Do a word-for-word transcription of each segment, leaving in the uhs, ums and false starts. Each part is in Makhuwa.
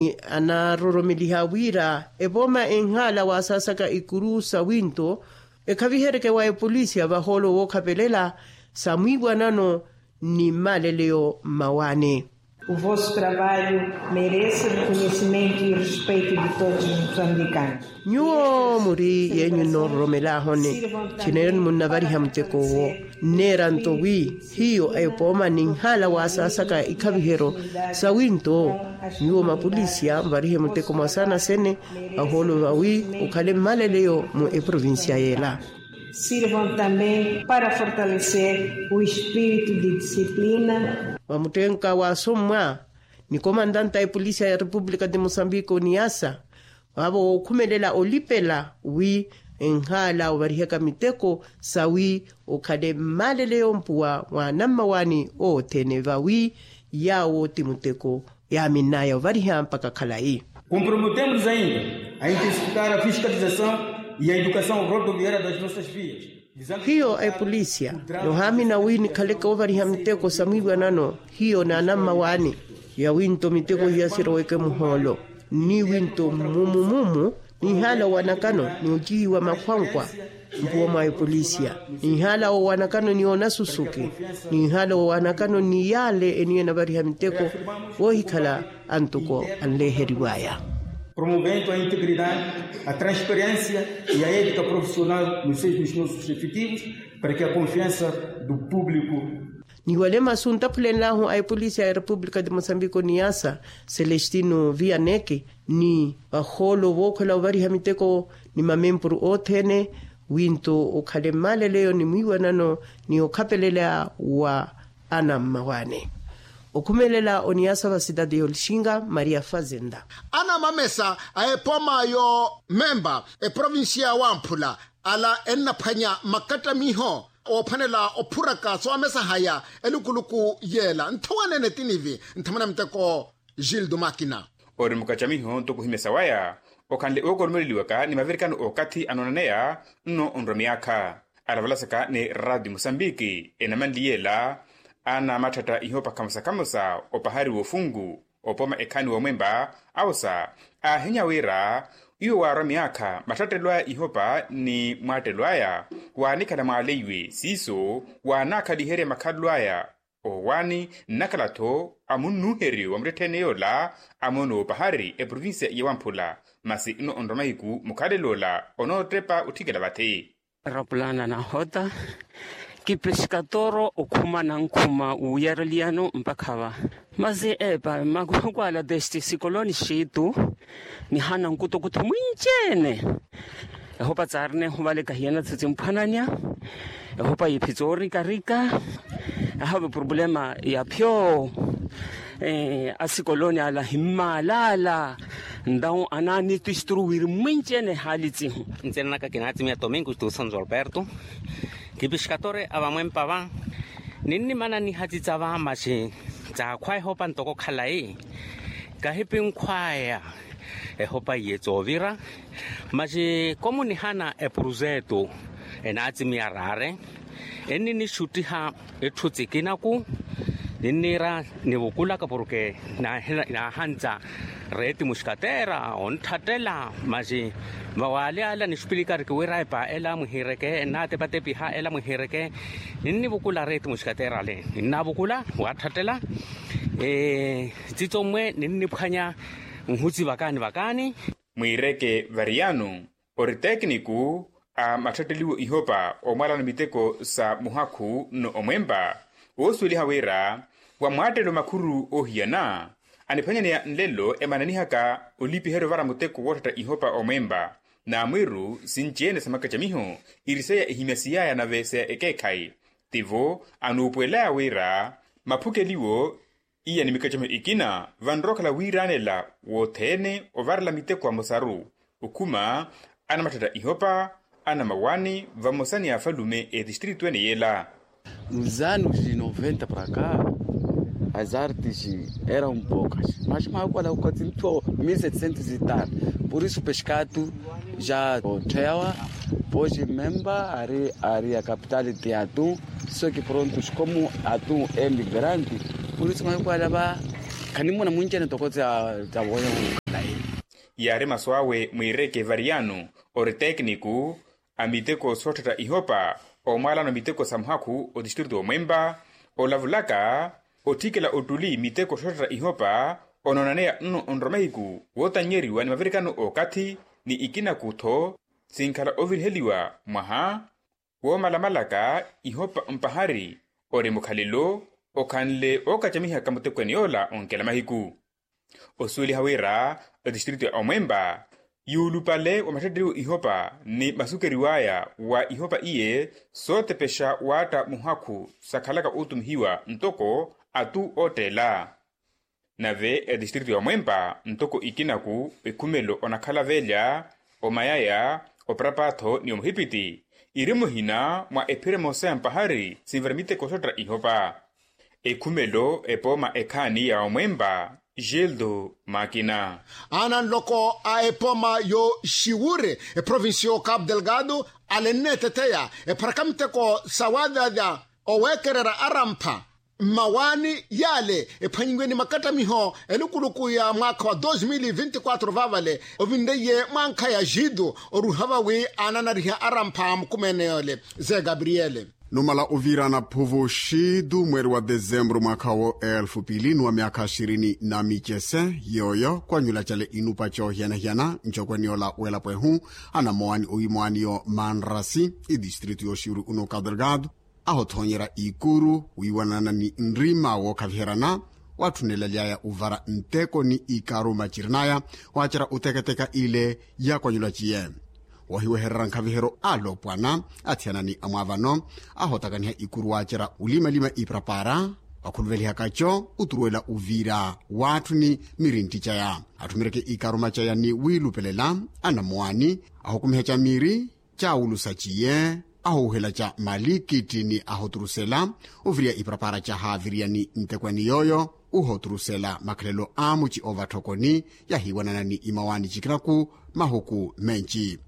Anaroromeliha wira epooma enhaala wasaasaka ikuru sa winto ekhavihereke wa epolisiya vahoolo wookhapelela sa mwiiwanano ni mmaleleyo mmawaani. O vosso trabalho merece reconhecimento e respeito de todos os moçambicanos. Nyuwo muri yeenyu nnoororomelahoni. Chineyoni munnavariha muteko owo nneeranto wi hiyo epooma ninhaala wasaasaka ikhavihero sa winto. Nyuwo mapolisiya muvarihe muteko mwasaana sene ahoolo vawi okhale mmaleleyo mu eprovincia yeela. Sirvam também para fortalecer o espírito de disciplina. Vamuttenka waasommwa ni komandanta a epolisiya ya repupulika de mosambiko niyasa vaavo wookhumelela olipela wi enhaala ovarihaka miteko sawi okhale mmaleleyo mpuwa mwaanammawaani othene vawi yaawo ti muteko yaaminnaya ovariha mpakha khalayi. Comprometemos ainda a intensificar a fiscalização e a educação rodoviária das nossas vias. Hiyo a epolisiya noohaamina wi nikhaleke ovariha miteko sa mwiiwanano hiyo naanammawaani ya winto miteko hiya siroweke muhoolo ni winto mmumu mumu. Nihaala owanakano ni ocihiwa makhwankwa mpuwa mwa epolisiya nihaala owanakano ni onasusuki nihaala owanakano ni yaale eniyo enavariha miteko voohikhala antuko anleeheriwaya. Promovendo a integridade, a transparencia e a ética profissional nos seios dos nossos efetivos para que a confiança do público. Ni wale masu ntaphulenlahu a epolisiya ya repupulika de mosambiko niyasa celestino vianeke ni vahoolo vookhwela ovariha miteko ni mamempuru othene winto okhale mmaleleyo ni mwiiwanano ni okhapelela wa anammawaani. Okhumelela oniyasa va sitati y'olixinga maria fazenda. Anamamesa a epooma y'omemba eprovincia ya wamphula ala ennaphwanya makattamiho oophwanela ophuraka soomesahaya elukuluku yeela nthowanene tinivi nthamana muteko gildo makina. Ori mukacamiho ntoko ohimesa waya okhanle ookoromeleliwaka ni mavirikano okathi anoonaneya nno onrwa miyaakha alavalasaka ni radio mosambiki enamanliyela. Anamathatta ihopa khamosa khamosa opahari w'ofunku opoma ekhaani w'omwempa awosa aahinya wira iwo waarwa miyaakha mathattelo aya ihopa ni mwaattelo aya waanikhala mwaaleiwe siiso waanaakhaliherya makhalelo aya. Owaani nnakhala-tho amunnuuheryo wa muttettheene yoola amoona opahari eprovincia ya wamphula masi nno onrwa mahiku mukhalelo ola onoottepa otthikela vathi. Rapulana nahota kipeskatoro okhuma nankhuma wuyareliyano mpakha va masi epa makuhukwaala testi sikoloni xiitu nihana nkutukutu mwinci-ene. Ehopa tsaarina ehuvaleka hiyana tsitsimphwananya ehopa yiiphi tsoorikarika. Ahave purupulema ya phyo asikoloni ala himmaalala. Ntawu anaani tisturu wiri mwinci-ene ehaali tsihu. Ntsina naka kinaatsimiya tomingo tuusanzo alberto kipixkatore a vamwempa va ninnimana nihatitsa va maxi tsaakhwa ehopa ntoko khalayi kahipinkhwaya ehopa iye tsoovira maxi komunihana epuruzetu enaatsimiya raare enninixuttiha etthu tsikinaku ninniira nivukulaka porke naahantsa reeti muxkateera ontthattela maxi vawaali ala nixupilikariki wira epa ela mwihiireke ennaatepatepiha ela mwihiireke ninnivukula reeti muxkateera ale ninnavukula waatthattela tsitsommwe ninniphwanya nhusi vakaani vakaani. Mwiireke variyano ori tekiniku a matthetteliwo ihopa omwalano miteko sa muhakhu nno omwempa woosuweliha wira wa mwaattelo makhuru oohiyana aniphwanyaneya nlelo emananihaka olipiheryo ovara muteko wootthatta ihopa omwempa. Namwiru sinci-ene sa makacamiho iriseya ehimyasiyaya nave sa ekeekhayi tivo anuupuwelaya wira maphukeliwo iya ni mikacamiho ikina vanrowa okhala wiiranela wothene ovarela miteko amosaru okhuma anamatthetta ihopa anamawaani vamosa ni afalume etistritu ene yeela. Nos anos de noventa para cá as artes eram poucas mas makuwala kukatsi ntho mil setecentos e tal por isso peskatu ja otttheyawa poji memba ari ari a capital de atum. Só que prontos como atum é migrante por isso makuwala va Khanimuna munci ene toko tsa wooya. Yaari masu awe mwiireke variyano ori tekniku a miteko sootthatta ihopa omwaalano miteko sa muhakhu otistritu omwempa olavulaka otthikela ottuli miteko sootthatta ihopa onoonaneya nno onrwa mahiku wootannyeriwa ni mavirikano okathi ni ikinaku-tho sinkhala oviriheliwa mwaha woomalamalaka ihopa mpahari ori mukhalelo okhanle ookacamihaka mutekweni yoola onkela mahiku. Osuweliha wira etistritu ya omwempa yuulupale wa mattetteriwo ihopa ni masukeriw'aya wa ihopa iye sootepexa waatta muhakhu sakhalaka ootumihiwa ntoko atu ootteela. Nave etistritu ya omwempa ntoko ikinaku ekhumelo onakhala velya omayaya oparapatho ni omuhipiti iri muhina mwa ephira emosa ya mpahari sinvara miteko soottera ihopa. Ekhumelo epooma ekhaani ya omwempa gildo makina. Ananloko a epooma yo xiwure eprovincia yo capu delgado alenneeteteya epharaka miteko sa waadyaadya oweekererya arampha mmawaani yaale ephwanyiwe ni makattamiho elukuluku ya mwaakha wa dos mil vinti quatro vaavale ovinreiye mwankha ya jitu oruha vawi aananariha arampha a mukumeene yoole. Ze gabriele. Numala oviirana phuvu xitu mweeri wa desembru mwaakha wo elfu pili ni wa myaakha xirini na micese yooyo kwanyula cale inupa coohiyana-hiyana ncokweni yoola w'elapo ehu anamowani owiimowani yo manrasi itistritu yooxiwiri uno kadelgado ahothoonyerya ikuru wiiwanana ni nrima wookhaviheryana waatthunelaly'aya ovara nteko ni ikaruma cirin'aya waacerya oteketeka ile yaakwanyulwa ciye. Wahiwehererya nkhaviheryo alopwana athiyana ni amwaavano ahotakaniha ikuru waacerya olimalima iparapara wakhuluvelihaka co oturuwela oviira waatthuni mirintti caya atthumeryeke ikaruma caya ni wiilupelela anamowani ahukumiha ca miiri caawulusa ciye ahowuhela ca malikitti ni ahoturusela oviriya iparapara ca haaviriya ni ntekweni yooyo ohoturusela makhalelo a muci oova tthokoni yahiiwanana ni imawaani cikinaku mahuku menci.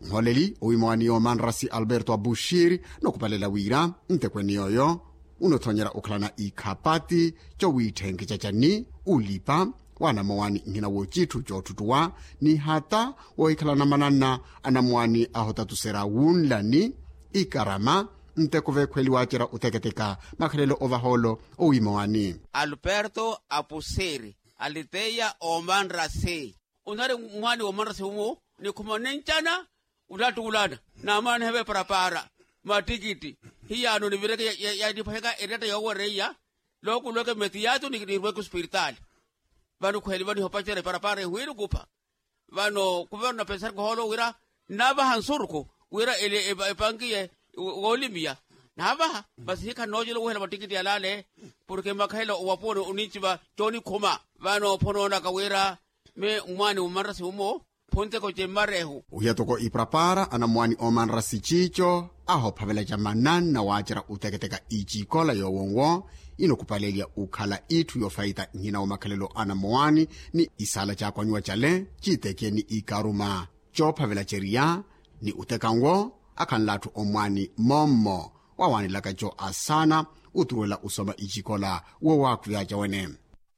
Nholeli owiimawaani yoomanrasi alberto abushiri nokupalela wira ntekweni yooyo unothoonyera okhalana ikhapati cowiitthenkeca cani ulipa w'anamowaani nhina wocitthu coottuttuwa ni hata woohikhalana mananna anamowaani ahotatuserya wunlani ikarama nteko veekhweli waacerya oteketeka makhalelo ovahoolo owiimawaani. Alberto apusiri aliteya omanrasi onari mwaani womanrasi umu nikhumane ncana ulattuulana naamana niheveparapara mattikitti hiyaano nivireke yaniphwaheka eretta yoowereiya lookulweke metiyatu nirweke ospiritaali. Vano khweeli vano ihopacerya eparapara ehwiiri okupha vano kuverno napensarika ohoolo wira nnaavaha nsurukhu wira epankiye woolimiya naavaha masi hikha nnoocela owohela mattikitti yalaale porke makhela owapuwoni oninciva coonikhuma vano phonoonaka wira me mwaani womanrasi umo phunteko cemmarehu. Ohiya toko iparapara anamowaani oomanrasi ciico ahophavela ca mananna waacerya oteketeka icikola yoowo nwo inokupalelya okhala itthu yoofayita nhina wa makhalelo anamowaani ni isaala caakwanyuwa cale ciiteke ni ikaruma coophavela ceriya ni oteka nwo akhanlatthu omwaani mommo waawanelaka co asaana oturuwela osoma icikola woowaakhuyaca wene.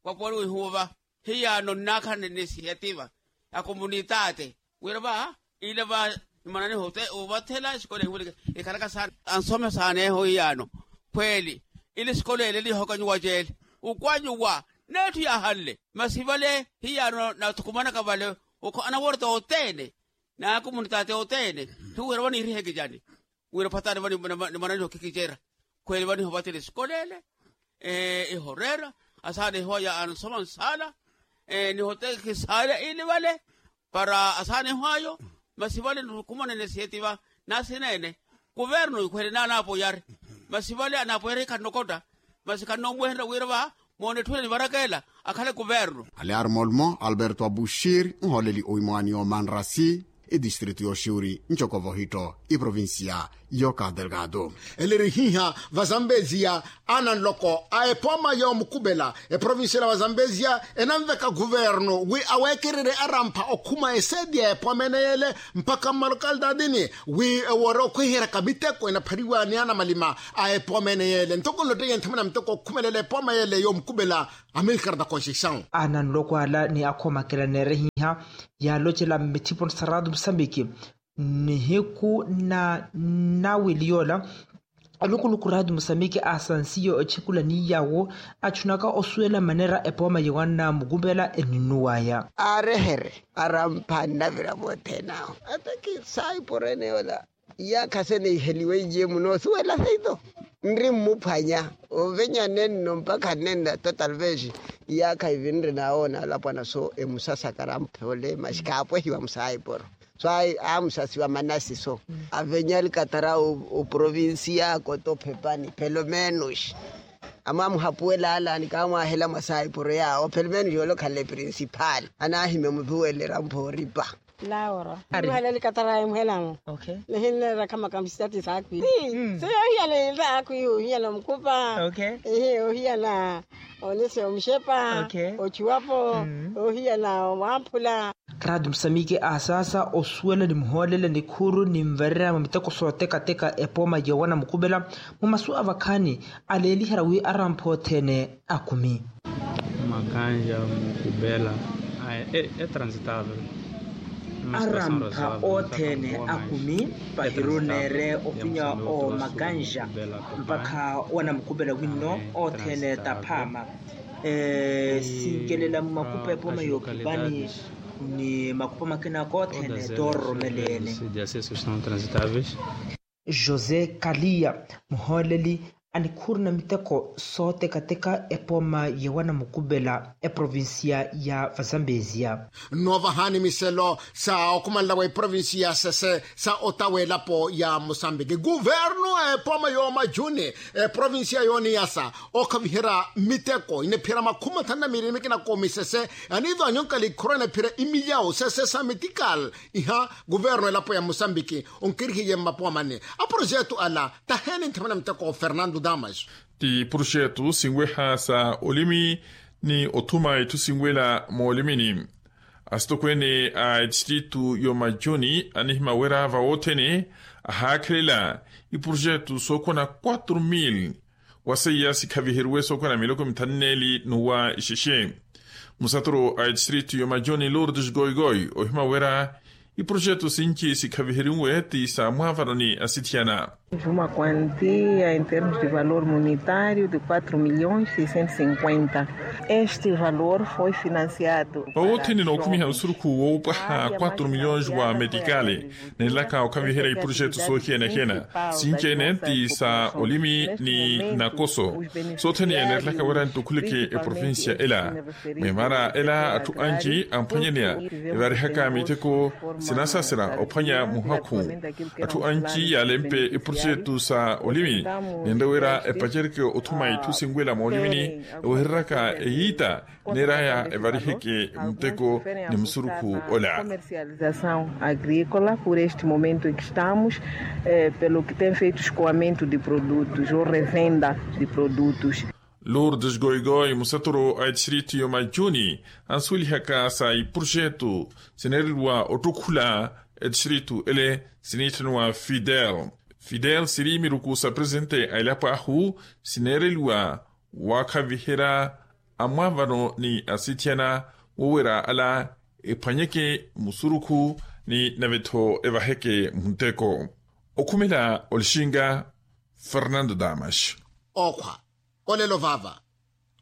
Wapuwani wihuuva hiyaano nnaakhanene sihetiva ya komunitaate wira va ile va nimananiho ovathela esikola ehiweleke ekhalaka saana ansome saaneeho hiyaano khweeli ile esikola ele nihokwanyuwa ceele okwanyuwa netthu yaahanle masi vale hiyaano nathukumanaka vale okho anaworta othene na komunitaate othene hiwira vaniiriheke cani wira phatani vanimananiho khikicerya khweeli vanihovathela esikola ele ihoreera asaana ehoya ansoma nsaala nihotekhisaale ili vale para asaana ehwayo masi vale nithukumanene siyetiva nasineene kuverno ikhwele naanaapoyari masi vale anaapoyari khannokotta masi khannoomweherya wira va moone etthu ene nivarakela akhale kuverno. Alear molmo alberto abushir nhooleli owiimwaani yoomanrasi etistritu yooxiwiri ncoko vohitto iprovincia yo cabo delgado. Ele eri hiha vazambezia ananloko a epooma yoomukupela eprovincia la vazambezia enanveka kuverno wi aweekererye arampha okhuma eseeti ya epooma ene yeele mpakha mmalokalitaatini wi ewoore okhweheryaka miteko enaphariwa ni anamalima a epooma ene yeele ntoko nloteiye nthamuna miteko okhumelela epooma yeele yoomukupela Amilcar da conceição. Ananloko ala ni akhoomakela neerehiha yaalocela mmithipo ni saratu musambiki nihiku na nawili yoola. Alukuluku ratu musambiki asansiyo ochekula ni yawo achunaka osuwela manera epooma yewanna mukupela eninuwaya. Aarehere arampha nnavira mothene awo ataki saiporene yoola. Iyaakha seniheliwe iye munoosuwela seito nri mmuphwanya ovenya nenno mpakha nenna total vez. Iyaakha ivinre nawoona alapwana so emusasakara mphole masi kaapwehiwa musaiporo so amusasiwa manasi so avenya alikatara oprovincia koto phepani pelomenus amwamuhapuwela alani kaamwahela mwasaiporo yaawo pelomenus yoolokhala principal anahimya mutuwelera mphoripa. Lauro muhela likatara emuhelamu nihinneera khamaka msitati saakwi. Seyo ohiyana ilta aakwi ohiyana omukupa. Ehe ohiyana onese omushepa ochuwapo ohiyana omwamphula. Ratu musamiki aasasa osuwela ni muhoolela nikhuru ni mvarerya mwa miteko sootekateka epooma yowana mukupela mu masu avakhaani aleeliherya wi arampha othene akumi. Makanja mukupela e transitable. Arampha othene akumi pahiru neere ovinya omakanja mpakha wanamukupela winno othene taphaama. Sinkelela mumakupa epooma yookipani ni makupa makina koothene toororomeleene. José kaliya muhooleli anikhuru na miteko sootekateka epooma yowana mukupela eprovincia ya vazambezia. Nnoovahani miselo sa okhumanela wa eprovincia ya sese sa ota w'elapo ya musambiki kuvernu epooma yoomajuni eprovincia yooniyasa okhaviherya miteko inepherya makhumi mathanu na miili mikina koomisese aniivanyonkala ikhuru enepherya imilyawu sese sa metikal. Iha kuvernu elapo ya musambiki onkirihiye mmapowa manne aprojetu ala taheeni nthamana miteko fernando damas. Ti projetu sinweha sa olimi ni othuma itthu sinwela moolimini asitokweene a etistritu y'omajuni anihimya wira vawoothene ahaakhelela iprojetu sookhwana quatro mil waseiya sikhaviheriwe sookhwana miloko mithanu neeli n'uwa ixexe. Musaturu a etistritu y'omajuni lourdes goigoi ohimya wira iprojetu sinci sikhaviheriwe ti sa mwaavano ni asithiyana. Uma quantia em termos de valor monetário de quatro milhões seiscentos e cinquenta. Este valor foi financiado. Vawoothene nookhumiha nsurukhu woopwaha quatro milhões wa metikali nenlaka okhaviherya iprojetu soohiyana-hiyana sinci-ene ti sa olimi ni nakoso soothene neerelaka wira ntukhuleke eprovincia ela. Mwimaara ela atthu anci amphwanyaneya evarihaka miteko sinasasera ophwanya muhakhu. Atthu anci yaalempe eprojetu sa olimi nenre wira epacereke othuma itthu sinwela moolimini ewehereryaka eyiita neeraya evariheke muteko ni musurukhu ola. Comercialização agrícola por este momento em que estamos pelo que tem feito escoamento de produtos ou revenda de produtos. Lourdes goigoi musaturu a etistritu y'omajuni ansuwelihaka sa iprojetu sineereliwa ottukhula etistritu ele siniitthaniwa fidel. Fidel siri miruku sa presente a elapo ahu sineereliwa waakhaviherya amwaavano ni asithiyana wowera ala ephwanyeke musurukhu ni nave-tho evaheke munteko. Okhumela olixinga fernando damas. Okhwa olelo vaava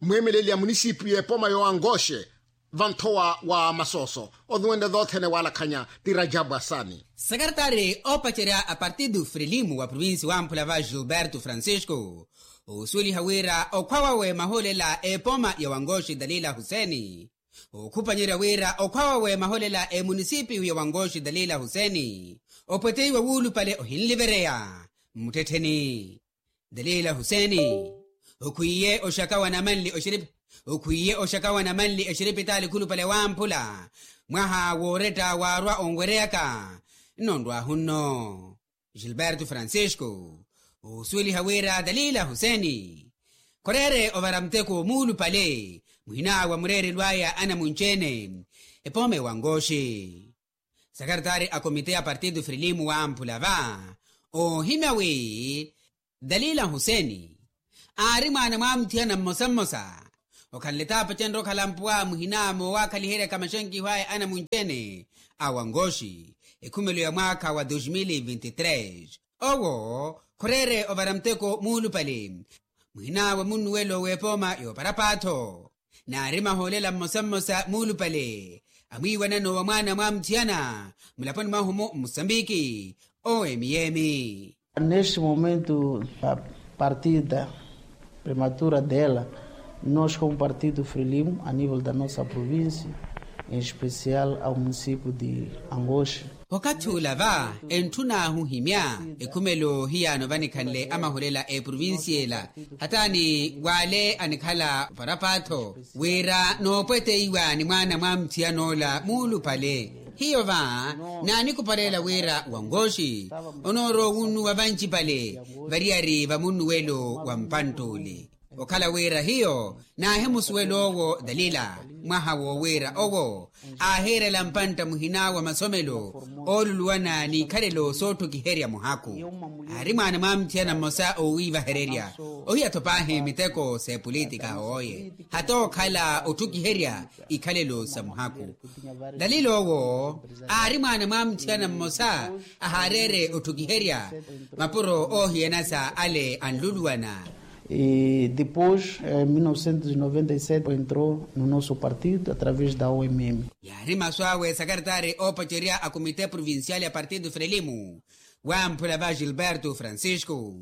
mweemeleli ya munisipiyu epooma yoowangoxe vanthowa wa masooso onuwenle doothene waalakhanya ti rajabu asani. Sekaretari oopacerya a partidu frilimu wa provinsi wamphula va gilberto francisco oosuweliha wira okhwa wawe mahoolela epooma ya wangoxi dalila huseni. Okhupanyerya wira okhwa wawe mahoolela emunisipiyu ya wangoxi dalila huseni opweteiwa wuulupale ohinlivereya mmuttettheni. Dalila huseni okhwiye oxaka wa namanli oxiripi okhwiye oxaka wa namanli exiripitaali khulupale wamphula mwaha wooretta waarwa onwereyaka. Nno nrwahu nno gilberto francisco oosuweliha wira dalila huseni khoreere ovara muteko muulupale muhina wa mureerelo aya anamunci-ene epooma ewangoxi. Sakaritari a komite ya partidu frilimu wamphula va oohimya wi dalila huseni aari mwaana mwamuthiyana mmosa mmosa Okhanle taapacenre okhala mpuwa muhina moowakhaliheryaka maxenkiho aya anamunci-ene a wangoxi ekhumelo ya mwaakha wa dos mil vinti tres. Owo khoreere ovara muteko muulupale muhina wa munnuwelo w'epooma y'oparapatho. Naari mahoolela mmosa mmosa muulupale amwiiwanano wa mwaana mwa muthiyana mulaponi mwahu-mu mmusambiki owo emiyemi. Neste momento a partida prematura dela, nos como partido frelimo a nível da nossa província, em especial ao município de angoxe. Okathi ula va entthun'ahu ohimya ekhumelo hiyaano vanikhanle amahulela eprovincia ela hataani w'ale anikhala oparapatho wira noopweteiwa ni mwaana mwa muthiyan'ola muulupale. Hiyo va naanikupalela wira wangoxi onoorowa owunnuwa vancipale variyari va munnuwelo wa mpantt'ule. Okhala wira hiyo naahimusuwela owo dalila mwaha woowiira owo aahiirela mpantta muhina wa masomelo ooluluwana n'ikhalelo sootthukiherya muhaku. Aari mwaana mwa muthiyana mmosa oowiivahererya ohiya-tho paahi miteko s'epolitika hooye hata okhala otthukiherya ikhalelo sa muhaku. Dalila owo aari mwaana mwa muthiyana mmosa ahaareere otthukiherya mapuro oohiyana sa ale anluluwana. E depois em mil novecentos e noventa e sete entrou no nosso partido através da omm. Yaari masu awe sakaritari oopacerya a comité provincial ya partido frelimo wamphula va gilberto francisco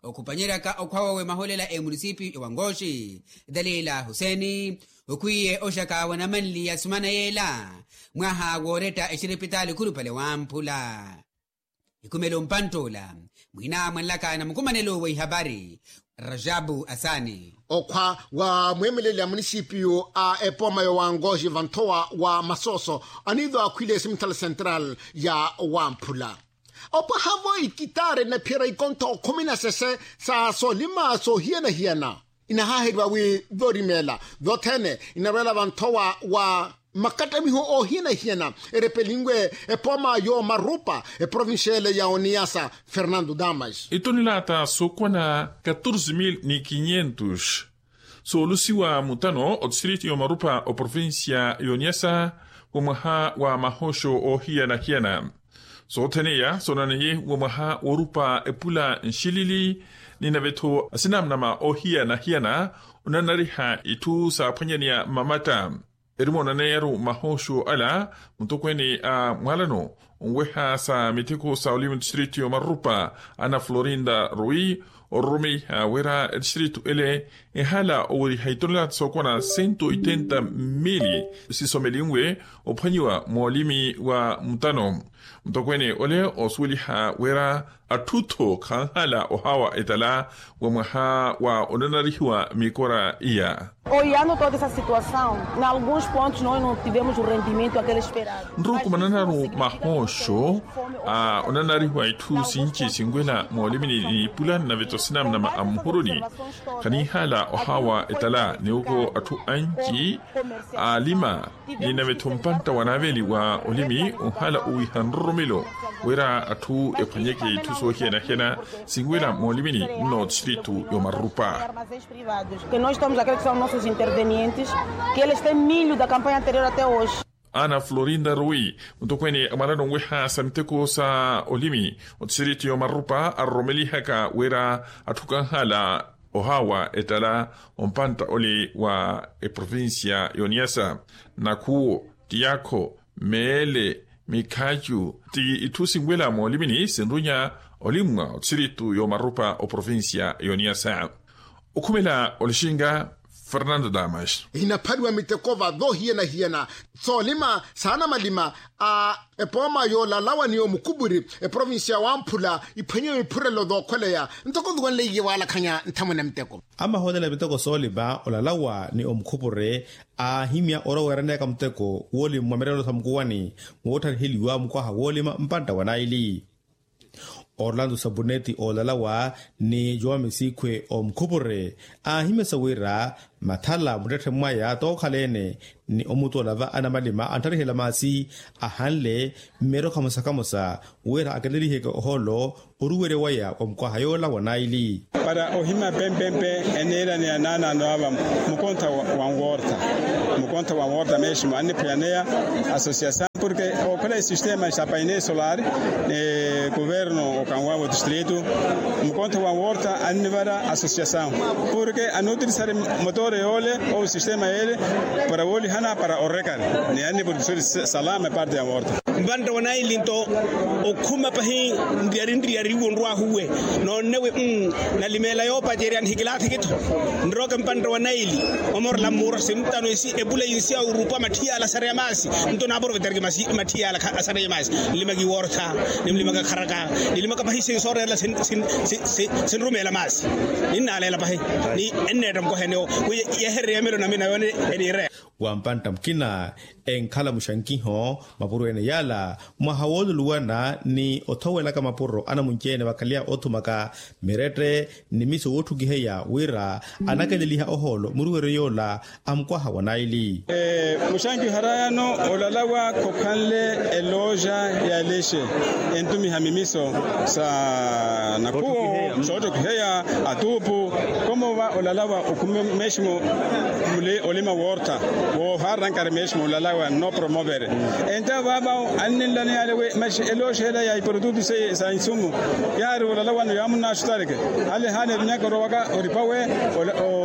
okhupanyeryaka okhwa wawe maholela emunisipio ya wangoxi. Dalila huseni okhwiye oxaka wa namanli ya sumana yeela mwaha wooretta exiripitaali khulupale wamphula. Ikhumelo mpantt'ula mwina mwanlaka na mukumanelo wa ihapari rajabu asani. Okhwa wa mweemeleli a munisipiyu a epooma ya wangoxi vanthowa wa masooso aniido akhwile siminthale central ya wamphula opwaha-vo ikitaare na phiyera ikontho khumi na sese sa soolima soohiyana-hiyana. Inahaaheriwa wi vorimeela vothene inarweela vanthowa wa makattamiho oohiyana-hiyana erepelinwe epooma y'omarupa eprovincia ele ya oniyasa fernando damas. Itonelata sookwana katorze mil ni kinyentos soolusiwa mutano otistrito y'omarupa oprovincia y'oniyasa wa mwaha wa mahoxo oohiyana-hiyana. Sothene iya soonaneye wa mwaha woorupa epula nxilili ni nave-tho asinamnama oohiyana-hiyana onanariha itthu saaphwanyaneya mmamatta. Erimoonaneye-ru mahoxo ala mutokweene a mwalano onweha sa miteko sa olimi otistrito y'omarupa ana florinda rui ororomeiha wira etistrito ele ehala oweriha itonelata sookwana sento oitenta mmili sisomelinwe ophwanyiwa moolimi wa mutano. Mutokweene ole osuweliha wira atthu-tho khanhala ohawa etala wa mwaha wa onanarihiwa mikora iya. Oyano toda esa situasaw na alguns pontos noi no tivemos o rendimento aquele esperado. Nrukumananaru mahoxo a onanarihiwa itthu sinci sinwela moolimini ni ipula nave-tho sinamnama a mmuhuruni. Khaninhala ohawa etala niwoko atthu anci aalima ni nave-tho mpantta wa naaveli wa olimi onhala owiha nroromelo wira atthu ephwanyeke itthu soohiyana-hiyana sinwela moolimini nno otistrito y'omarupa. Que nós temos aqueles que são nossos intervenientes que eles têm milho da campanha anterior até hoje. Ana florinda rui mutokweene a mwalano onweha sa miteko sa olimi otistrito y'omarupa aroromelihaka wira atthu kanhala ohawa ettala ompantta ole wa eprovincia y'oniyasa. Nakhuwo, tiyaakho, meele, mikhacu ti itthu sinwela moolimini sinrunya olimwa otistrito y'omarupa oprovincia y'oniyasa. Okhumela olixinga fernando damas. Hinaphaliwa miteko va doohiyana-hiyana soolima saana malima a epooma yoolalawa ni omukhupuri eprovincia wamphula iphwenyewe iphurelo dookhweleya ntoko nduwanleiye waalakhanya nthamwene miteko. Amaholela miteko soolima olalawa ni omukhupuri aahimya oroweraneyaka muteko woolima mwa mirelo sa mukuwani moottariheliwa mukwaha woolima mpantta wa naili. Orlando sabuneti oolalawa ni jowa misikhwe omkhupure, aahimesa wira mathala muttetthe mwaya tookhala-ene ni omutoola va anamalima anttarihela maasi ahanle mmeerokha mosa kamosa wira aketeliheke ohoolo oruwerya waya wa mukwaha yoola wa naili. Para ohima pempempe eneela ni anaanaano ava mukontha wa nworta mukontha wa nworta mesmo anniphwayaneya asosiasaw porke okhala esistema sa paine solar ni kuverno okanwavo distritu mukontha wa nworta annivara asosiasaw porke anutirisari motore yoole ou sistema yeele para woolihana para orekari ni anniportuseri salama eparte ya nworta. Mpantta wa naili nto okhuma pahi nriyari nriyari iwo nrwahuwe noonnewe. Nalimeela yoopacerya nihikilathiki-tho nrooke mpantta wa naili omorela mmuuro sintano esi epula yinsi ya orupa matthiyala asareya maasi. Nto naaprovetariki matthiyala asareya maasi nlimaka iwortha nimlimaka kharaka nilimaka pahi sinsoorerela sinrumeela maasi ninnaaleela pahi ni enneetta mukohenewo wi yehererya emelo namina yoone eniireya. Wa mpantta mukina enkhala muxankiho mapuro ene yaala mwaha wooluluwana ni othowelaka mapuro anamunci-ene vakhaleya othumaka mirette ni miso wootthukiheya wira anakeleliha ohoolo muruweryo yoola a mukwaha wa naili. Muxankiho arayano olalawa khokhanle eloja ya lexe entumiha mimiso sa nakhuwo soottokiheya atuupu. Komova olalawa okhume meximo muli olima woortha woohaaranankari meximo olalawa nno promovere. Enta vaava anninlaneyale wi maxi elooxeela ya iprotutu seiye sa insumu yaari olalawano yaamunnaxutareke ale haana evinyaka orowaka oripawe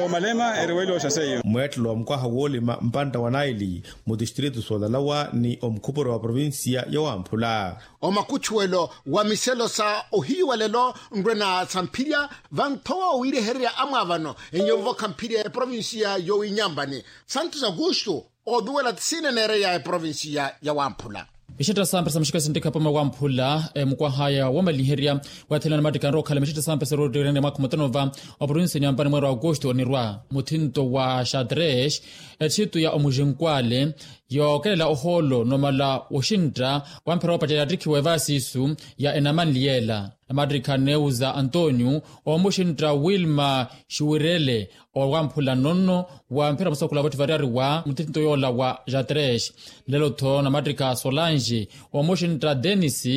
omalema eriwa elooxa seiyo. Mweettelo wa mukwaha woolima mpantta wa naili mu tistritu soolalawa ni omukhupuro wa provincia ya wamphula. Omakutchuwelo wa miselo sa ohiyu wa lelo nrwena samphirya vanthowa owiirehererya amwaavano enyo nvokha mphirya eprovincia yowinyambani santos augusto oduwela tisiine neereya eprovincia ya wamphula. Mixetta sampesa muxikasi ntikha pama wamphula mukwaha ya womaliherya wathela namattikha anrowa okhala mixetta sampesa rootteerene mwaakha mutano va oprovincia nyambani mweero augusto onirwa muthinto wa xadresh etxitu ya omuxinkwale yookelela ohoolo nomala woxintta wamphera woopacerya yattikhiwa evaasiisu ya enamanli yeela namattikha neuza antonio omuxintta wilma xuwirele owamphula nonno wamphera musakhula votti variyari wa muthinto yoola wa xadresh nlelo-tho namattikha solange omuxintta denis.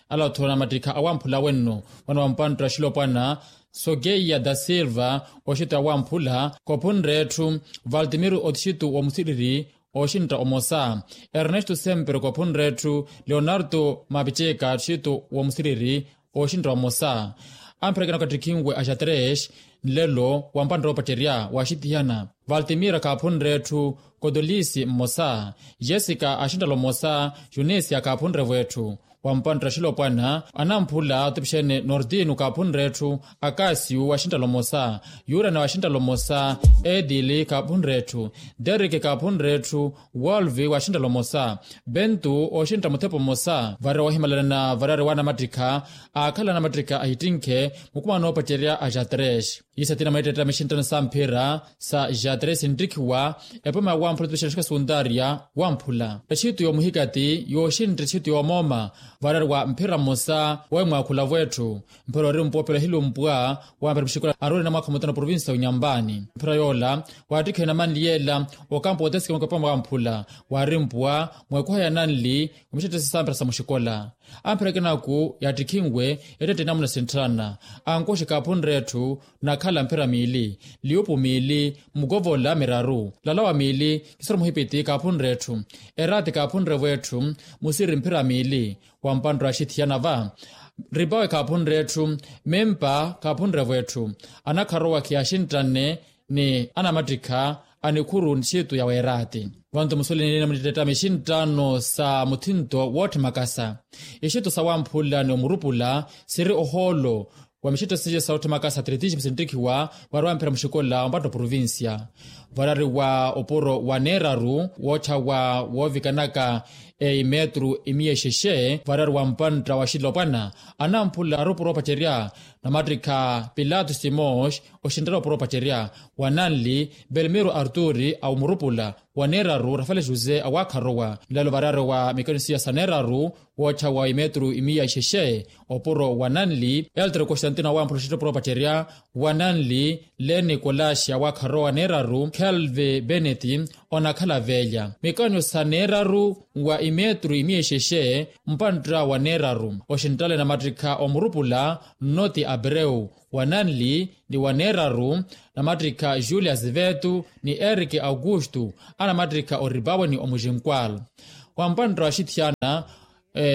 Ala-tho namattikha awamphula wenno mwana wa mpantta xilopwana sokeia da silva oxintta awamphula kophunre etthu valtimiro otxitu womusiriri oxintta omosa ernesto sempre kophunre etthu leonardo mapiceka otxitu womusiriri oxintta omosa ampherekena okattikhinwe a xadresh nlelo wa mpantta woopacerya waxitihana valtimira kaaphunre etthu kotolisi mmosa jessica axinttalo mmosa junisia kaaphunre-vo etthu wa mpantta xilopwana anamphula otipixene nordino kaaphunre etthu akasiyu waxinttalo mmosa yurana waxinttalo mmosa edili kaaphunre etthu derike kaaphunre etthu wolvi waxinttalo mmosa bentu oxintta muthepo mmosa varira wohimalanana variyari wa anamattikha aakhala anamattikha ahittinkhe mukuma noopacerya a xadresh. Iisa tina mweetteetta mixinttano samphira sa xadresh nttikhiwa epoma ya wamphula otipixene xikha suntariya wamphula etxitu yoomuhikati yooxintta etxitu yoomooma variyari wa mphira mmosa woohimwaakhula-vo etthu mphira ori mpoopela ohilumpwa wamphera muxikola aroorina mwaakha mutano provincia ya unyambani mphira yoola waattikhiwe namanli yeela okampo wooteseke mukapama wamphula waarimpwa mweekuha ya nanli wa mixetta sisampira sa muxikola ampherekena-ku yaattikhinwe ettette inamuna sintthalana ankoxi kaaphunre etthu nakhala mphira miili liupu miili mukovola miraru lalawa miili kisoro muhipiti kaaphunre etthu eraati kaaphunre-vo etthu musiri mphira miili wa mpantta axithiyana va ripawe kaaphunre etthu mimpa kaaphunre-vo etthu anakharowa khiyaaxinttanne ni anamattikha a nikhuru nxitu ya weeraati vantu musuweleni nina munittettami xinttano sa muthinto wootthemakasa ixitto sa wamphula ni omurupula siri ohoolo wa mixitto siye sa ootthemakasa atletismo sinttikhiwa vaari wamphera muxikola ompatto provincia variyari wa opuro wa neeraru wootthawa woovikanaka eimetru imiya exexe variyari wa mpantta wa xilopwana anamphula ari opuro opacerya namattikha pilato simos oxinttala opuro opacerya wa nanli belmiro arturi a omurupula wa neeraru rafale jose awaakharowa nlelo variyari wa mikaniso ya sa neeraru woottha wa imetru imiya ixexe opuro wa nanli eltre constantino awaamphula oxettopuro opacerya wa nanli leni kolaxi awaakharowa neeraru kelve beneti onakhala veelya mikanyo sa neeraru wa imetru imiya ixexe mpantta wa neeraru oxinttale namattikha omurupula nnoti abreu wa nanli ni wa neeraru namattikha julia zivetu ni erike augustu anamattikha oripawe ni omuxinkwal wa mpantta wa xithiyana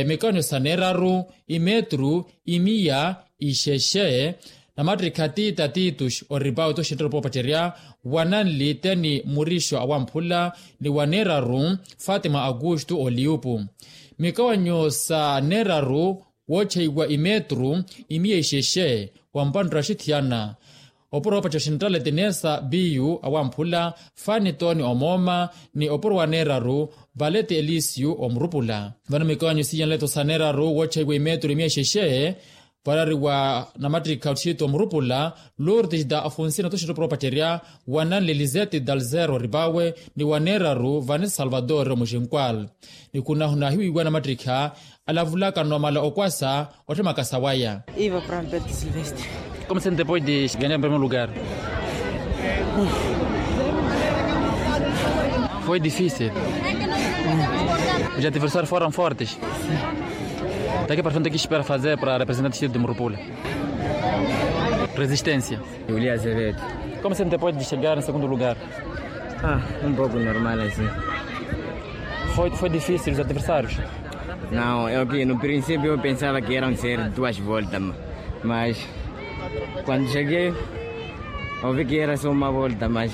mikanyo sa neeraru imetru imiya ixexe namattikha tita titus oripawe toxinttale opoopacerya wa nanli teni murixo awamphula ni wa neeraru fatima augustu oliupu mikawanyo sa neeraru woocheiwa imetru imiya ixexe wa mpanttara xithiyana opuro opaca xinttale tinesa biyu awamphula fani toni omooma ni opuro wa neeraru valeti elisiyu omurupula vano mikawanyo siiya nleto sa neeraru woocheiwa imetru imiya ixexe variyari wa namattikha otthitu omurupula lurtis da afonsina toxinttale opuro opacerya wa nanli lizeti dalzero ripawe ni wa neeraru vanesi salvador omuxinkwal ni khunahuna ahiwiiwa namattikha alavulaka nomala okwasa otthemaka sawaya. Iva prampeto silvestre. Como se depois de ganhar em primeiro lugar? Foi difícil. Os adversários foram fortes. Daqui para frente o que espera fazer para representar o distrito de murupula? Resistência. Julia azevedo. Como se depois de chegar em segundo lugar? Ah, um pouco normal assim. Foi difícil os adversários? Não, eu que no princípio eu pensava que eram ser duas voltas, mas quando cheguei ouvi que era só uma volta, mas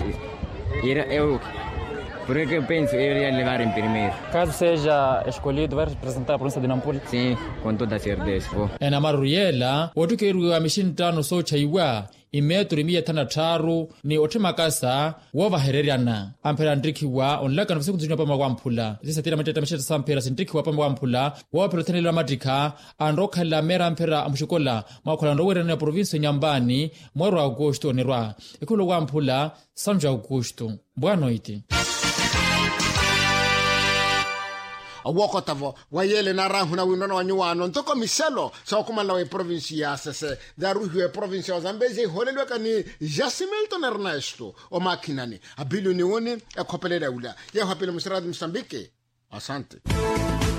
era eu por que eu penso eu iria levar em primeiro. Caso seja escolhido vai representar a província de nampula? Sim, com toda certeza vou. Ena maruru yeela wottukeriwa mixinttano soochaiwa imetru imiya ethanu na tthaaru ni otthimakasa woovahereryana amphera anttikhiwa onlakano va sikuntu sinyu apama wamphula sisatira mattettamaxetta samphera sinttikhiwa apama wamphula woophera othenelelo amattikha anrowa okhalela meera amphera amuxikola mwaakhola nrowererani ya provincia nyambani mweru wa aukustu onirwa ekholo wamphula sanju aukustu. Bwanoiti. Owookota-vo wa yeele naarahuna winrona wa nyuwaano ntoko mixelo sookumanela wa eprovinsi ya sese naaruhiwa eprovinsi ya ozambezi ehiholeliwaka ni jasimilton ernesto omaakhinani apiliyoni wuni ekhopelelya wula yeeho apili muxirati musambiki. Asante.